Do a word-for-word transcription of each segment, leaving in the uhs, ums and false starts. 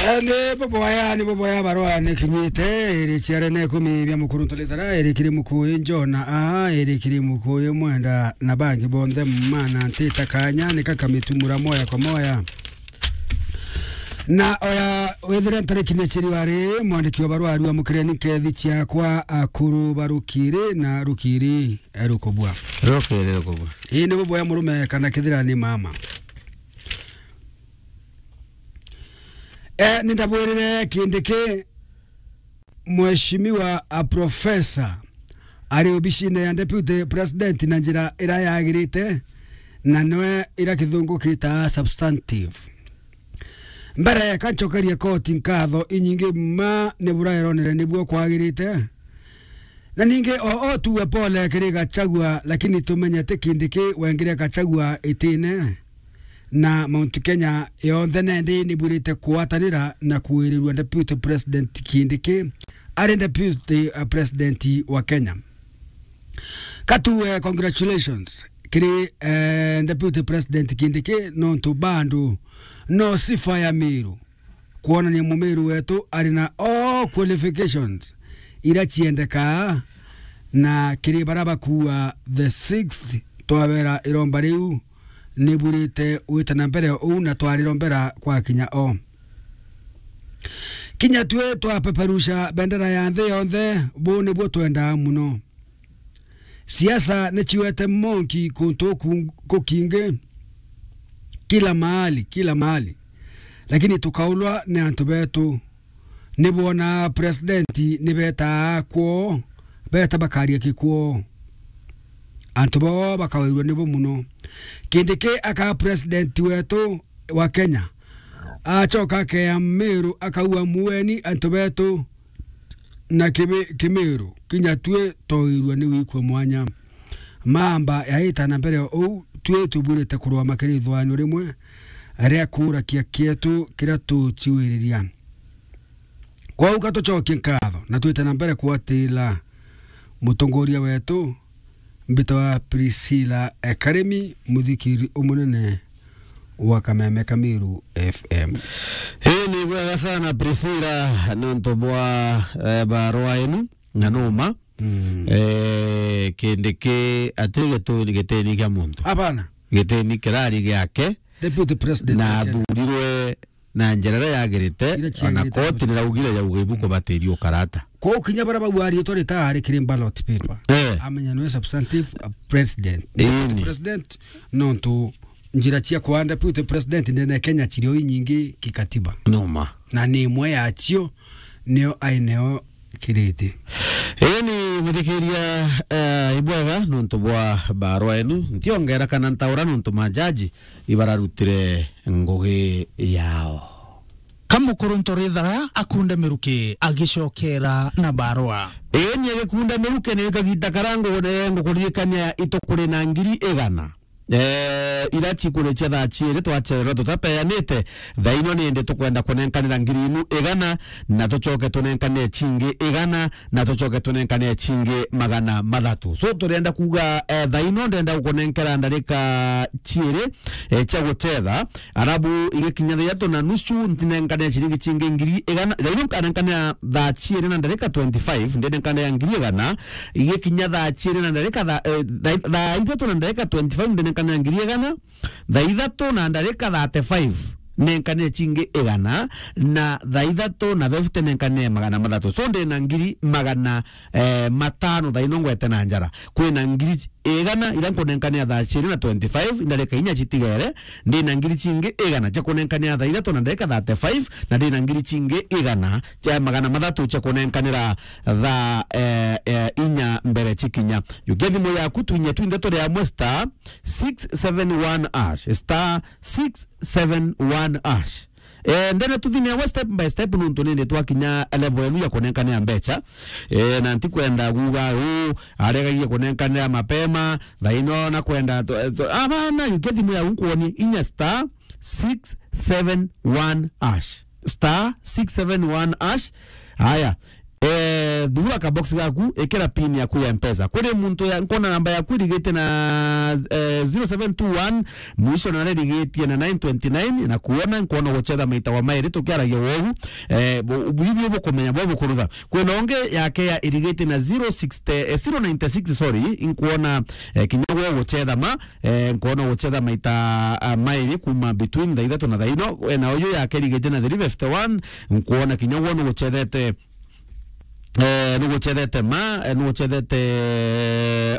Eh, ni boboya, ni boboya, barua ni kinyite, iri ciare na ikumi bia mukuru ntulithara, iri kiri mukuyu Njona, aa, iri kiri mukuyu Mwenda, na bangi bonthe mana ntita kanya, ni kakamitumura moya kwa moya. Na oya withire ntariki ni ciri wari, mwandiki wa barua ariwa mukireni nkethi ciakwa akuru barukiri na rukiri, eh, rukubua. Rukiri rukubua. Ii ni boboya murume kana kithira ni mama. Eh, nindabwirire Kindiki, mheshimiwa a professor, ari obicine ya deputy president na njira ira yagirite, na niwe ira kithungu kitaa substantive. Mbere, ka ncokerie koti nkatho inyingi mma ni bura ironere nibuo kwagirite, na ningi o, o tuwe pole kiri Gachagua, lakini tumenye ti Kindiki wengire Gachagua itine, na Mount Kenya yonthe nendi nibwirite kugwatanira na kuirirua Deputy President Kindiki ari Deputy, uh, President wa Kenya. Ka tuwe congratulations kiri, eh, Deputy President Kindiki, nontu bandu no sifa ya Miru kwonania Mumiru wetu ari na all qualifications ira ciendekaa, na kiri bara bakuua the sixth, twabera iromba riu nibwirite gwita na mbere uu na twarirombera gwakinya o. Kinya tui twapeperusha bendera ya nthi yonthe, buu nibuo twendaa mono. Siasa ni ciwete monki kuntu ku-, kukingi, kila mahali, kila mahali. Lakini tukaulwa ni antu betu. Ni bwona president ni betaa kwoo, beta bakaria kikwoo. Antu bao bakawairua nibo mono. Kindiki akaa president wetu wa Kenya. Acoka akeya Miru, akaua mueni antu betu na Kimi-, Kimiru, kinya tui twairua ni wikua mwanya. Mamba yaita na mbere o uu, tui tubwirite kurwama kiri ithwano rimwe ria kuurakia kietu kiria tuciwiriria. Kwou ka tucokie nkatho na twite na mbere kwatila mutongoria wetu, mbitwa Priscilla Ekarimi, muthikiri umunene wa Kameme ka Miru F M. Ii ni bwega sana, Priscilla, nontu bwa, eh, barua inu, na numa. Mm. Eh, Kindiki ati gituni gitini kia muntu. Hapana. Gitini kirari giake. Deputy President na wa Kenya. Athurirwe na njira iria yagirite, ira ona ciagirite koti niraugire yauga ibu kubatiria ukarata. Kwou kinya baria bauga riitwa ritaari kiri ballot paper, eh, amenya niwe substantive, uh, president. Ii ni. President, nontu njira cia kwa deputy president ndene ya Kenya ciri o inyingi kikatiba. Numa. Na ni imwe yacio nio aineo kiriti. Ii ni muthikiria, eh, ibwega nontu bwa barua enu. Ntiongera kana ntaura nontu majaji ibararutire ngugi yao. Ka mukuru Ntorithara akunda miruki agicokera na barua. Ii ni agikunda miruki ni kagita karia ngugure ngukuririkania itu kuri na ngiri igana. Eh, ira cikuri cia thaa ciiri twacererwa tutapeanite. Thaa ino nindi tukwenda kunenkanira ngiri inu igana, na tucoke tunenkane cingi igana, na tucoke tunenkane cingi magana mathatu. So, turienda kuuga, eh, thaa ino ndenda gukunenkera ndarika ciiri, eh, cia gucetha, arabu igikinya thaa ithatu na nusu, ntinenkane ciringi cingi ngiri igana. Thaa ino nkanenkanira thaa ciiri na ndarika twenty-five, ndinenkanira ngiri igana, igikinya thaa ciiri na ndarika tha-, eh, thaa, thaa ithatu na ndarika twenty-five, ndinenkanira ngiri igana. Thaa ithatu na ndarika thirty-five, nenkanire cingi igana, na thaa ithatu na fifty nenkanire magana mathatu. So, ndi na ngiri magana, eh, matano thaa ino ngwete na njara. Kwina ngiri igana ira nkunenkanira thaa ciiri na twenty-five, ndarika inya citigere, ndi na ngiri cingi igana cia kunenkanira thaa ithatu na ndarika thirty-five, na ndi na ngiri cingi igana cia magana mathatu cia kunenkanira thaa, eh, eh, inya mbere cikinya. Jukia thimu yaku, twinye twinthe turi amwe, star six seven one hash, star six seven one hash. Eh, ndene tuthineagwe step by step, nontu nindi twakinya level enu ya kunenkanira mbecha. Eh, na ntikwenda guga, "Uu, aregagie kunenkanira mapema, thaa ino na kwenda tu-, tu-," abana, jukia thimu yaku nkwonie, inya star six seven one hash. Star six seven one hash. Aya. Eh, thura ka box gaku, ikira pin yaku ya Mpesa. Kuri muntu ya, nkwona namba yaku irigitie na, eh, zero seven two one, mwisho na irigitie na nine twenty nine, na kuona, nkwona guchetha maita wa mairi tukiaragia wogu. Eh, bu-, bu-, bu-, bukumenya bo bukurutha. Kwina ungi yake ya irigitie na zero sixty, eh, zero ninety six, sorry, nkwona, eh, kinya gwe guchetha ma, eh, nkwona guchetha maita, ah, mairi kuma between thaa ithatu na thaa ino. Eh, na uyu yake irigitie na three fifty one, nkwona kinya gwe nuguchethete, eh, nuguchethete ma, eh, nuguchethete,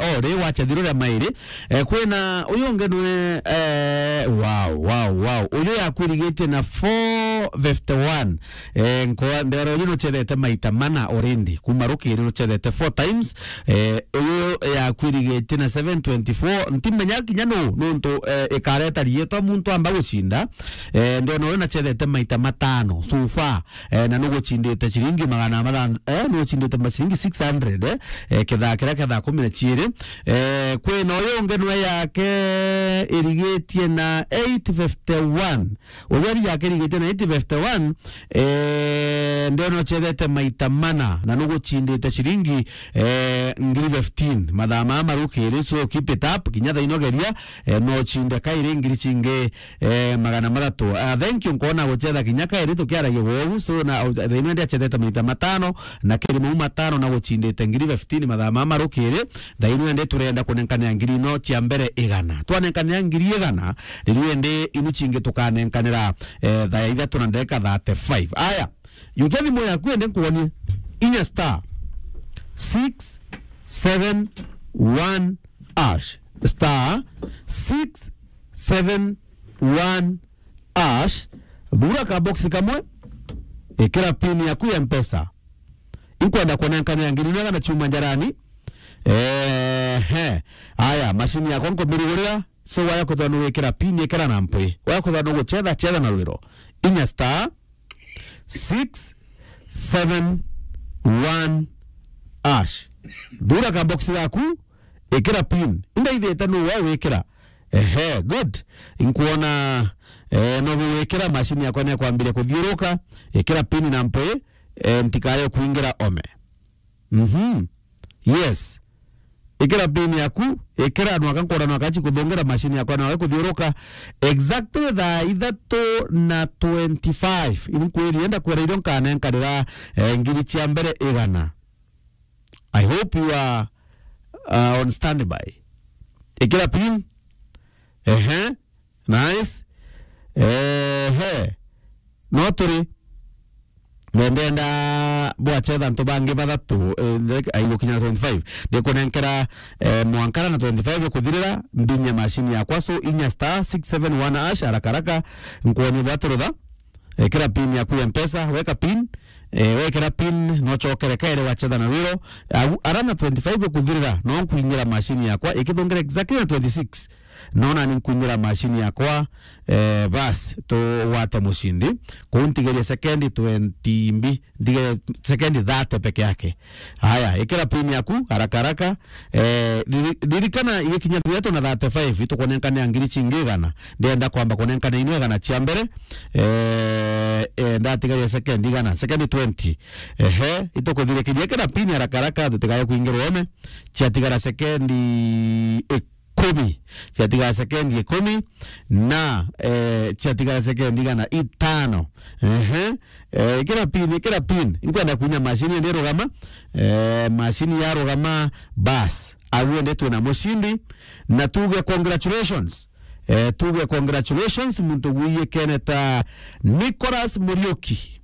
oh, ri wachethirwe ria mairi. Eh, kwina uyu ungi nwe, eh, wow, wow, wow. Uyu yaku irigitie na four fifty one. Eh, nko-, ndero uyu nuchethete maita mana already. Kuma rukiri nuchethete four times. Eh, uyu yaku irigitie na seven twenty-four. Ntimenya kinya nu, nuntu, eh, ikareta rietwa muntu amba gucinda. Eh, ndona uyu nachethete maita matano so far. Eh, na nuguchindite ciringi magana mathan-, eh, nuguchindite ma ciringi six hundred, eh, eh, kithaa kiria kia thaa kumi na ciiri. Eh, kwina uyu ungi nwe yake irigitie na eight fifty one. Uyu ari yake irigitie na eight fifty one, eh, ndona uchethete maita mana na nuguchindite ciringi, eh, ngiri fifteen. Mathaa maya marukiri, so keep it up, kinya thaa ino geria, eh, no uchinde kairi ngiri cingi, eh, magana mathatu. Ah, thank you, nkona guchetha kinya kairi tukiaragia wogu. So, na, uh, thaa ino ndi achethete maita matano, na kiri mau matano na guchindite ngiri fifteen mathaa maya marukiri. Thaa ino ndi turenda kunenkanira ngiri ino cia mbere igana. Twanenkanira ngiri igana, riu ndi inu cingi tukanenkanira, eh, thaa ithatu na ndagika thirty-five. Aya, yukia thimu yaku ende nkuonie. Inya star six seven one hash. Star six seven one hash. Thura ka box kamwe, ikira pin yaku ya Mpesa. Inkwenda kunenkanira ngiri igana chuma njarani. Ehe. Aya, mashini yakwa nkumirugurira. So, waya kuthwa nuwikira pin, ikira na mpwi. Waya kuthwa nuguchetha, chetha na rwiro. Inya star six seven one hash. Thura ka box gaku, ikira pin. Indaithite nu wa wikira. Ehe, good. Inkuona, eh, no wikira, mashini yakwa ni akwambiria kuthiuruka. Ikira pin na mpwi, eh, ntikaye kuingira ome. Mhm. Yes. Ikira pin yaku, ikira nwaka nkora nwaka chikuthungira mashini yakwa nwaka kuthiuruka. Exactly thaa ithatu na twenty-five. Inkwiri enda kwira irio nkanenkanira, eh, ngiri cia mbere igana. I hope you are, uh, on standby. Ikira pin. Ehe. Nice. Ehe. No turi. Ndenda bwachetha antu bangi bathatu, eh, like, aigukinya twenty-five. Ndikunenkera, eh, mwankara na twenty-five kuthirira, mbinye mashini yakwa. So, inya star six seven one hash, haraka haraka, nkuonie bwaturutha. Ekira pin yaku ya Mpesa, weka pin, eh, wekira pin, no chokere kairi wachetha na rwiro. Au, ara na twenty-five kuthirira, no nkuinyira mashini yakwa, ikithungira exactly na twenty-six. No nani nkuinyira mashini yakwa, eh, bas, tugwate mushindi. Kuu ntigerie sekendi twenty mbi, ntigerie sekendi thirty peke yake. Haya, ikira pin yaku, haraka haraka. Eh, riri-, ririkana igikinya thirty na thirty-five, itukunenkanira ngiri chingi igana. Ndienda kwamba kunenkana ino igana cia mbere. Eh, eh, ndatigaria sekendi igana, sekendi twenty. Ehe, itukuthirikiria ikira pin haraka haraka, tutikaye kuingirwa ome. Ciatigara sekendi ikumi. Ciatigara sekendi ikumi na, eh, ciatigara sekendi igana itano. Ehe. Eh, ikira pin, ikira pin. Inkwenda kunya mashini ende rugama. Eh, mashini ya rugama, bas. Agu ende twina mushindi. Na tuge congratulations. Eh, tuge congratulations, muntu gwiyikene ta Nicholas Muriuki.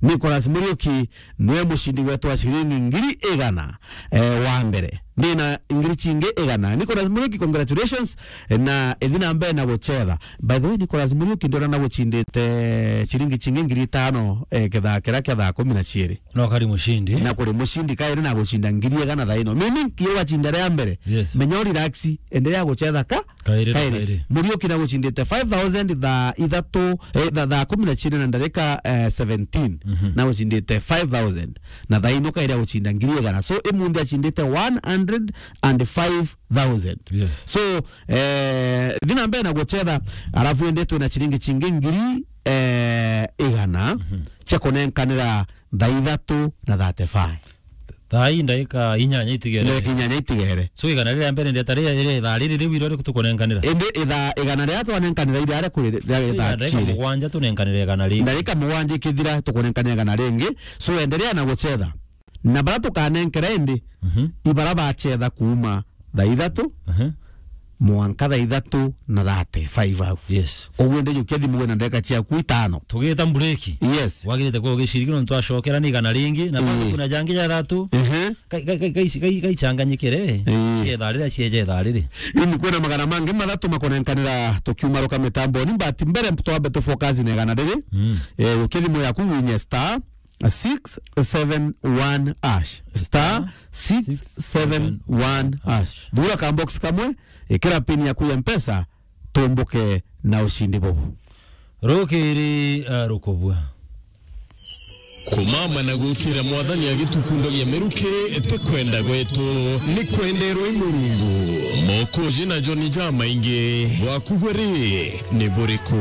Nicholas Muriuki niwe mushindi wetu wa ciringi ngiri igana, eh, wa mbere. Ndina ngiri chingi igana. Nicholas Muriuki, congratulations, eh, na ithi na mbere na guchetha. By the way, Nicholas Muriuki ndona na guchindite ciringi chingi ngiri itano, eh, kithaa kiria kia thaa kumi na ciiri. No kari mushindi. Na kuri mushindi kairi na guchinda ngiri igana thaa ino. Meaning, kiyo wachinda ria mbere. Yes. Menya u relax, endelea guchetha ka Kairi na kairi. Kairi. Muriuki na guchindite five thousand thaa ithatu, eh, tha-, thaa kumi na ciiri na ndarika, eh, seventeen. Mhm. Na guchindite five thousand. Na thaa ino kairi aguchinda ngiri igana. So, imunthi achindite one hundred and five thousand. Yes. So, eh, thi na mbere na guchetha, alafu ende twina chiringi chingi ngiri, eh, igana, mhm, cia kunenkanira thaa ithatu na thirty-five. Thaa ii ndaika inyanya itigere. Ndaika inyanya itigere. So, igana riria mbere ndeta ria, ria ithaa riri riu irio riku tukunenkanira? Indi ithaa, igana riria twanenkanira iria ria kuri, ria, ria thaa ndaika ciiri. Mugwanja tunenkanire igana ringi. Ndaika mugwanja ikithira tukunenkanira igana ringi. So, endelea na gucetha. Na bara tukanenkera indi, Mhm. ibara bacetha kuuma thaa ithatu, Aha. mwanka thaa ithatu na thirty-five au. Yes. Koguo indi jukia thimu wina ndagika ciaku itano. Tugita mbureki. Yes. Wagirite kuba ugiciriki nontu twacokera ni igana ringi, na Mm. bado kuna jangi ja thatu. Ehe. Kai-, kai-, kai-, kai-, kai-, kaicanganyikire. Eh. Cietha riria cieja ithaa riri. Ini kwina magana mangi mathatu makunenkanira tukiumaruka mitamboni, but mbere twambe tufocus na igana riri. Mm. Eh, ukia thimu yaku winye star six seven one hash. Star six seven one hash. Thura ka box kamwe, ikira pin yaku ya Mpesa, tumbuke na ushindi bubu. Rukiri, uh, rukubua. Kumama na gukira Mwathani agitukundagia miruki, ti kwenda gwetu, ni kwenderwa i Murungu. Mokoji na Joni jamaingi, bwaku bwe ri, ni buriku?